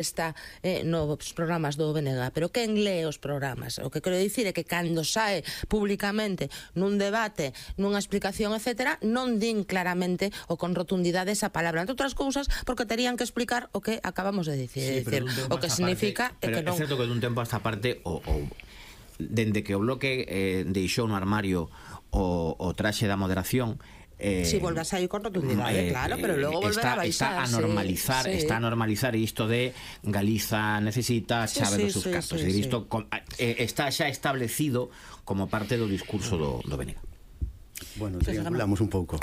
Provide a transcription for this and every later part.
está nos programas do BNG, pero quen lee os programas? O que quero dicir é que cando sae públicamente nun debate, nunha explicación, etc., non din claramente ou con rotundidade esa palabra, entre outras cousas, porque terían que explicar o que acabamos de dicir, o que significa é que non... É certo que dun tempo a esta parte dende que o Bloque deixou no armario o traxe da moderación, Si volve a sair con rotundidade, claro, pero logo volverá a baixar. Está a normalizar isto de Galiza necesita chave dos seus cartos. Isto está xa establecido como parte do discurso do BNG. Bueno, triangulamos un pouco.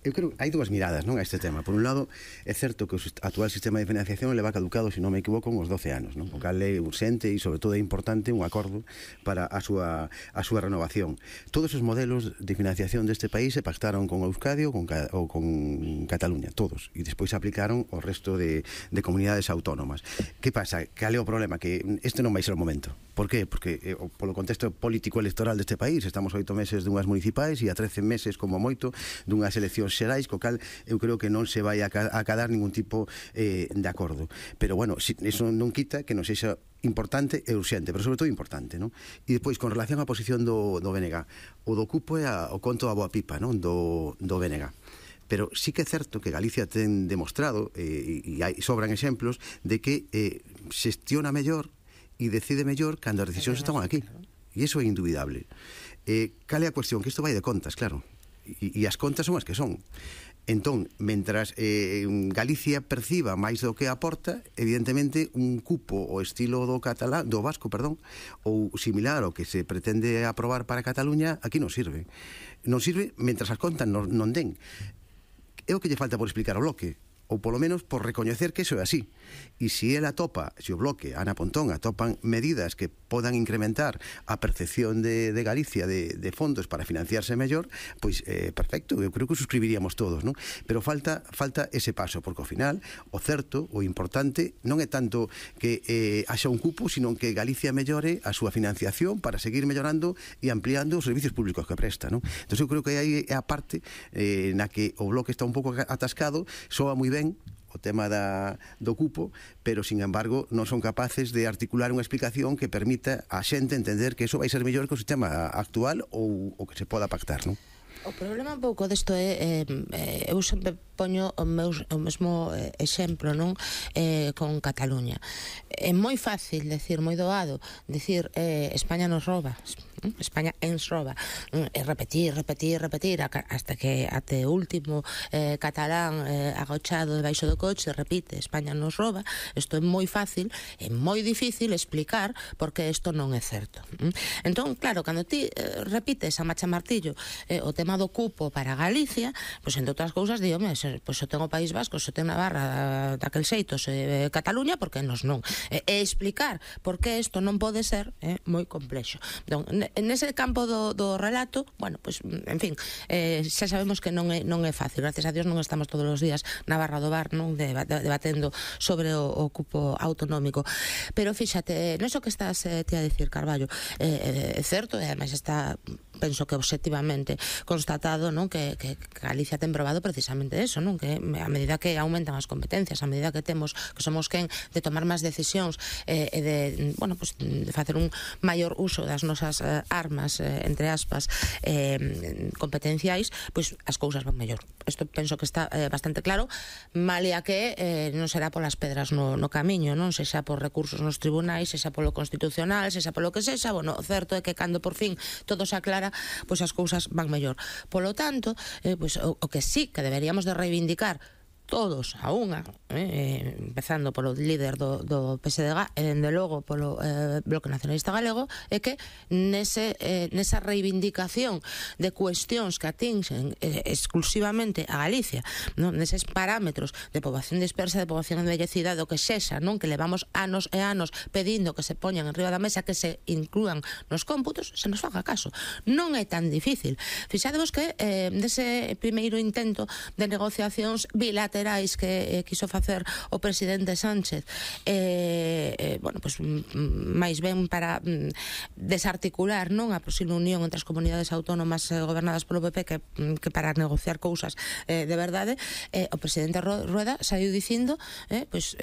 Eu creo que hai dúas miradas, non, a este tema. Por un lado, é certo que o actual sistema de financiación leva caducado, se non me equivoco, uns 12 anos, non? O cal é urxente e, sobre todo, é importante un acordo para a súa renovación. Todos os modelos de financiación deste país se pactaron con Euskadi ou con Cataluña, todos, e despois se aplicaron ao resto de comunidades autónomas. Que pasa? Cal é o problema? Que este non vai ser o momento. Por qué? Porque polo contexto político electoral deste país estamos 8 meses dunhas municipais e a 13 meses como moito dunhas eleccións xerais, co cal eu creo que non se vai a acadar ningún tipo de acordo. Pero bueno, eso non quita que non sexa importante e urxente, pero sobre todo importante, non? E depois, con relación á posición do BNG, o do cupo é o conto a boa pipa, non? Do BNG. Pero sí que é certo que Galicia ten demostrado, e sobran exemplos, de que xestiona mellor e decide mellor cando as decisións están aquí. E iso é indubidable. Cal é a cuestión? Que isto vai de contas, claro. E as contas son as que son. Entón, mentras Galicia perciba máis do que aporta, evidentemente un cupo o estilo do vasco, ou similar ao que se pretende aprobar para Cataluña, aquí non sirve. Non sirve mentras as contas non den. É o que lle falta por explicar ao Bloque, ou polo menos por recoñecer que iso é así. E se o Bloque, Ana Pontón, atopan medidas que podan incrementar a percepción de Galicia de fondos para financiarse mellor, pois perfecto, eu creo que suscribiríamos todos, non? Pero falta ese paso, porque ao final o certo, o importante, non é tanto que haxa un cupo, sino que Galicia mellore a súa financiación para seguir mellorando e ampliando os servicios públicos que presta, non? Entón eu creo que aí é a parte na que o Bloque está un pouco atascado, soa moi ben o tema do cupo, pero, sin embargo, non son capaces de articular unha explicación que permita a xente entender que iso vai ser mellor que o sistema actual ou que se poda pactar, non? O problema un pouco desto é eu sempre poño o mesmo exemplo, non? Con Cataluña. É moi fácil decir, moi doado decir España nos roba, España ens roba, e repetir hasta que até o último catalán agochado debaixo do coche repite España nos roba. Isto é moi fácil, é moi difícil explicar porque isto non é certo. Entón, claro, cando ti repites a macha martillo o tema do cupo para Galicia, pois, entre outras cousas, digo, pois eu tengo o País Vasco, eu tengo Navarra daquel xeito, Cataluña, porque nos non. E explicar por que isto non pode ser é moi complexo. Entón, nese campo do relato, bueno, pois, en fin, xa sabemos que non é fácil. Gracias a Dios non estamos todos os días na barra do bar, non, debatendo sobre o cupo autonómico. Pero fíxate, non é o que estás ti a dicir, Carballo, é certo, e ademais está, penso que obxectivamente constatado, non, que Galicia ten probado precisamente eso, non, que a medida que aumentan as competencias, a medida que somos quen de tomar máis decisións e de, bueno, pues, de facer un maior uso das nosas armas, entre aspas, competenciais, pois as cousas van mellor. Isto penso que está bastante claro, malia que non será polas pedras no camiño, non, sexa por recursos nos tribunais, sexa polo constitucional, sexa polo que sexa. Bueno, o certo é que cando por fin todo se aclara, pois as cousas van mellor. Polo tanto, pois o que sí que deberíamos de reivindicar todos a unha, empezando polo líder do PSDG e, dende logo, polo Bloque Nacionalista Galego, é que nesa reivindicación de cuestións que atinxen exclusivamente a Galicia, non, neses parámetros de poboación dispersa, de poboación envellecida, do que sexa, non, que levamos anos e anos pedindo que se poñan en riba da mesa, que se inclúan nos cómputos, se nos faga caso. Non é tan difícil. Fixadevos que dese primeiro intento de negociacións bilaterais que quiso facer o presidente Sánchez, bueno, pues, máis ben para desarticular, non, a posible unión entre as comunidades autónomas gobernadas polo PP que para negociar cousas de verdade, o presidente Rueda saiu dicindo, pues,